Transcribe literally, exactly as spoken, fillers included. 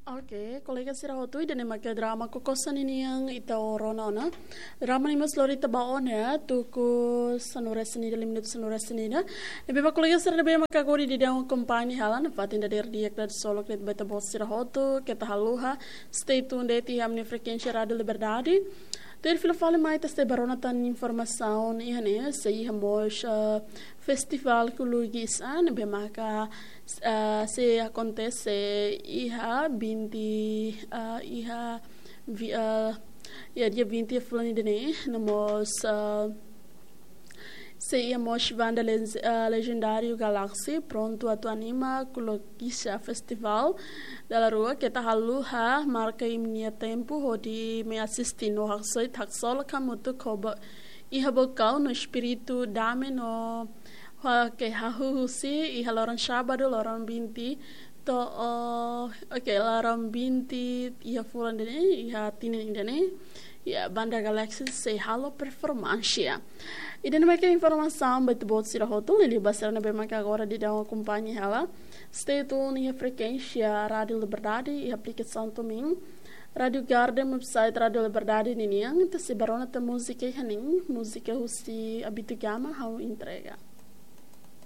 Oke, kolega sira hotu, ida-ne'e maka drama Kokosa ninian ita rona ona. Drama ne'e mós lori ita ba ona tuku sanulu-resin-ida, lima minutu sanulu-resin-ida. Ne'ebé ba kolega sira ne'ebé maka agora daudaun akompaña hela, nafatin dadeer di'ak, dadeer solok de'it ba ita-boot sira hotu, keta haluha, stay tuned de'it iha ami-nia frekuénsia Rádiu Liberdade. Tuir fila fali mai ita sei bá rona tan informasaun iha ne'e, sei iha mós, eh, festivál Kulugis, ah, ne'ebé maka, eh, sei akontese iha vinte, eh, iha vi-, eh, iha dia vinte fulan ida-ne'e, no mós, eh, sei iha mós banda lez-, eh, lejendáriu Galaxy prontu atu anima Kulugis Festival. Dala rua, keta haluha marka imi-nia tempu hodi mai asiste no haksoit, haksolok hamutuk ho ba-, iha bokau no espíritu dame no ha-, ke hahú husi iha loron sábadu, loron vinte to'o, oke, loron vinte iha fulan ida-ne'e, iha tinan ida-ne'e. Ya, banda Galaxy sei halo performánsia. Ida-ne'e maka informasaun ba ita-boot sira hotu, liuliu ba sira ne'ebé maka agora daudaun akompaña hela. Stay tuned iha frekuénsia Rádiu Liberdade, iha aplikasaun Tumin, Rádiu Garden, website Rádiu Liberdade ninian, ita sei bá rona tan múzika iha ne'e, múzika husi Abito Gama, Ha'u Entrega.